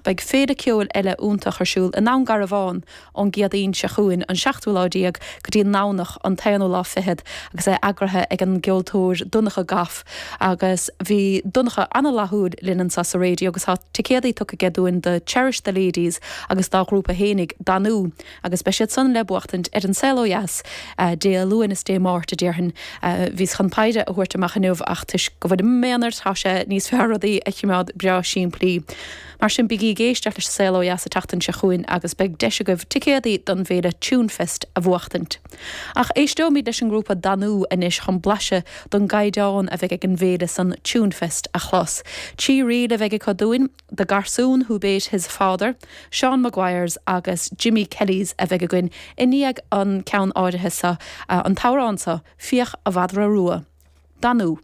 Beidh féile ceoil eile iontach ar siúl i nDún Garbhán ón gCéadaoin seo chugainn, an seachtú lá déag, go dtí an nDomhnach, an t-aonú lá fichead, agus é eagraithe ag an gceoltóir Donncha Goff. Agus bhí Donncha an-fhlaithiúil linn anseo sa raidió agus tá ticéadaí tugtha aige dúinn do Cherish the Ladies agus dá ghrúpa fhéinig, Danú. Agus beidh siad san le buachtaint ar An Saol Ó Dheas Dé Luain is Dé Máirt, a déarfainn. Bhíos chun péire a thabhairt amach inniu ach toisc go bhfuilim i m'aonar tá sé níos fearr rudaí a chimeád breá simplí. Mar sin bígí ag éisteacht leis An Saol Ó Dheas an tseachtain seo chugainn agus beidh deis agaibh ticéadaí don bhféile Tunefest a bhuachtaint. Ach éisteoimid leis an ngrúpa Danú anois chun blaiseadh don gcaighdeán a bheidh ag an bhféile san Tunefest a chlos. Trí ríl a bheidh acu dúinn. The Garsún Who Bate His Father, Seán Maguire's agus Jimmy Kelly's a bheidh againn i ndiaidh an ceann áirithe seo, an t-amhrán seo, Fiach a' Mhadra Rua. Danú.